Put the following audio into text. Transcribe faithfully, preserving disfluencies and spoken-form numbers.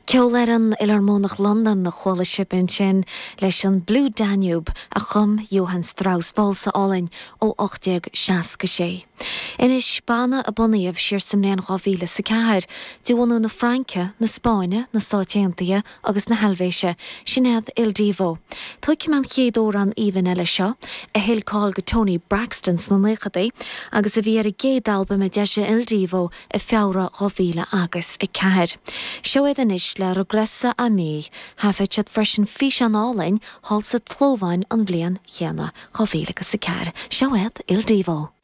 Ceolfhoireann Fhiolarmónach Londan a chuala sibh ansin leis an Blue Danube a chum Johann Strauss válsa álainn ó ocht déag seasca sé. Anois banna a bunaíodh siar sa mbliain dhá mhíle is a ceathair, de bhunadh na Fraince, na Spáinne, na Stáit Aontaithe agus na hEilvéise, sin iad Il Divo. Tógfaidh mé an chéad amhrán aoibhinn eile seo, a thuill cáil go Toni Braxton sna naochadaí agus a bhí ar a gcéad albam a d'eisigh Il Divo i Feabhra dhá mhíle agus a ceathair. Seo iad anois le Regressa a Me. Thaifead siad freisin físeán álainn thall sa tSlóváin an bhliain chéanna, dhá mhíle agus a ceathair. Seo iad Il Divo.